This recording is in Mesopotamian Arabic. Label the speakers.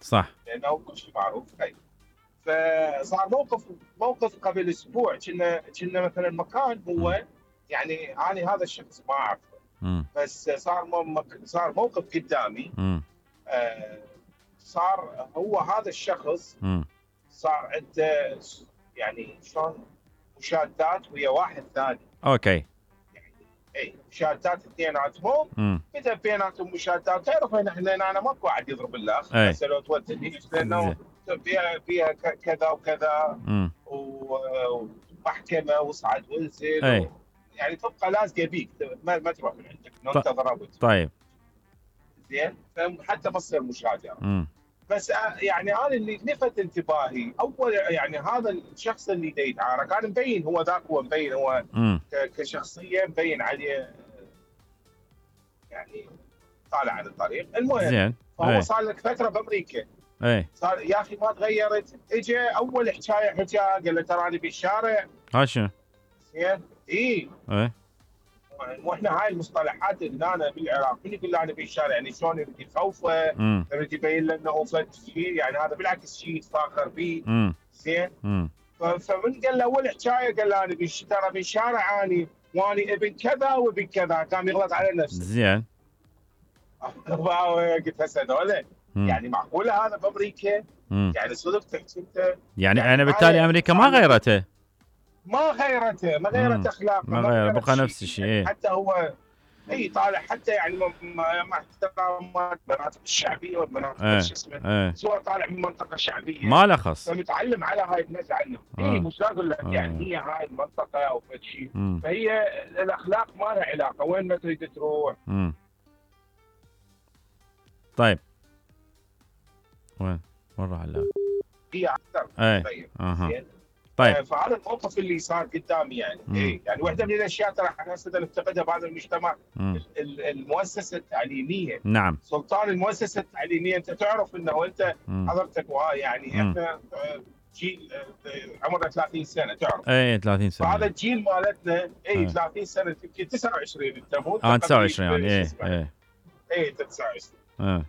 Speaker 1: صح.
Speaker 2: لانه كل شيء معروف. فصار موقف قبل اسبوع، كنا مثلا مكان هو يعني انا هذا الشخص ما اعرفه، بس صار موقف قدامي. صار هو هذا الشخص صار عنده يعني شلون مشادات ويا واحد ثاني.
Speaker 1: اوكي.
Speaker 2: اي مشادات اثنيناتهم، بدا بيناتهم مشادات. تعرف انا ماكو احد يضرب الاخ، هسه لو تودني لانه فيها كذا وكذا ومحكمه وصعد وانزل يعني تبقى لازقه بيك، ما تروح من عندك لو انت ضربت.
Speaker 1: طيب
Speaker 2: زين، حتى ما تصير مشاجره. بس يعني انا اللي لفت انتباهي اول يعني هذا الشخص اللي يتعارك، انا مبين هو ذاك، هو مبين هو كشخصيه مبين عليه يعني طالع عن الطريق. المهم
Speaker 1: زين،
Speaker 2: فهو صار لك فتره بامريكا. صار يا اخي ما تغيرت. اجى اول حكايه قال له تراني بالشارع.
Speaker 1: شنو؟
Speaker 2: زين واحنا هاي المصطلحات اللي انا بالعراق من يقول له انا بالشارع يعني شلون يريد يخوفه، يريد يبين له انه فد شيء، يعني هذا بالعكس شيء يتفاخر به. زين. فمن قال له اول حكايه قال له انا ترى بالشارع اني واني ابن كذا وابن كذا، قام يغلط على نفسه.
Speaker 1: زين.
Speaker 2: قلت هسه هذول يعني معقوله هذا بامريكا؟ يعني صدق تحكي انت
Speaker 1: يعني انا بالتالي امريكا ما غيرته
Speaker 2: ما غيرت اخلاقه،
Speaker 1: ما غير بقى نفس الشيء.
Speaker 2: يعني حتى هو طالع حتى يعني مع احترام المناطق الشعبيه والمناطق شو اسمه، هو طالع من منطقه شعبيه
Speaker 1: ما له خص،
Speaker 2: فمتعلم على هاي الناس عنه. مش اقول لك يعني هي هاي المنطقه او شيء، فهي الاخلاق ما لها علاقه وين ما تريد تروح.
Speaker 1: طيب وين راح اللاعب؟
Speaker 2: هي اكثر.
Speaker 1: طيب
Speaker 2: فهذا الموقف اللي صار قدامي يعني يعني واحده من الاشياء ترى احنا هسه نفتقدها بهذا المجتمع، المؤسسه التعليميه.
Speaker 1: نعم.
Speaker 2: سلطان المؤسسه التعليميه. انت تعرف انه انت حضرتك يعني احنا جيل عمره 30 سنه، تعرف
Speaker 1: 30 سنه.
Speaker 2: فهذا الجيل مالتنا 30 سنه يمكن 29 انت مو
Speaker 1: 29 يعني
Speaker 2: 29